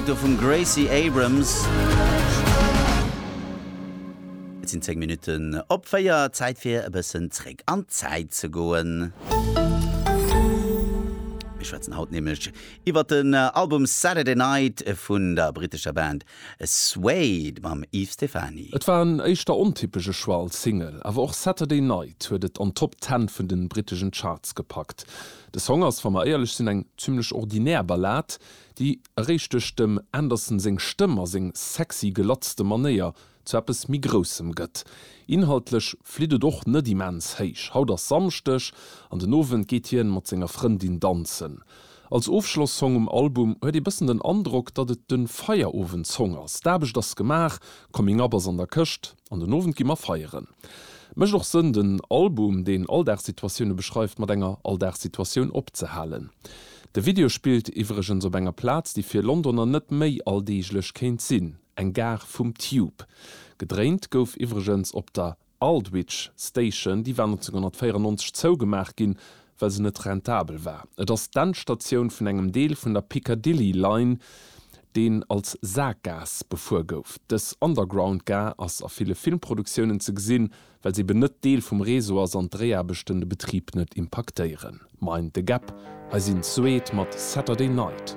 Musek do vum Gracie Abrams. Et sinn 10 Minutten op 4, Zäit fir e bëssen zréck an d'Zäit ze goen. Mir schwätzen haut nämlech iwwert den Album Saturday Night vun der brittescher Band Suede mam Yves Stephany. Et war en éischter ontypesche Choix als Single, awer och Saturday Night huet et an d'Top Ten vun den britteschen Charts gepackt. De Song ass, wa mer éierlech sinn, eng zimlech ordinär Ballad, déi eréischt duerch dem Anderson seng Stëmm a seng sexy gelatzte Manéier zu eppes méi Groussem gëtt. Inhaltlech flitt et och net immens héich. Haut ass Samschdeg an den Owend geet hien mat senger Frëndin danzen. Als Ofschloss-Song um Album huet ee bëssen den Androck, datt et de Feierowend-Song ass. D'Aarbecht ass gemaach, Coming Up ass an der Këscht an den Owend gi mer feieren. Mécht och Sënn, den Album, deen Alldagssituatioune beschreift, mat enger Alldagssituatioun opzehalen. De Video spillt iwwregens op enger Plaz, déi fir Londoner net méi alldeeglech kéint sinn, eng Gare vum Tube. Gedréint gouf iwwregens op der Aldwych Station, déi war 1994 zougemaach ginn, well se net rentabel war. Et ass d'Endstatioun vun engem Deel vun der Piccadilly Line, deen als Saakgaass befuer gouf. Dës Underground-Gare ass a ville Filmproduktiounen ze gesinn, well se eben net Deel vum Réseau ass an d'Dréiaarbechten de Betrib net impaktéieren. Mind the Gap, hei sinn Suede mat Saturday Night.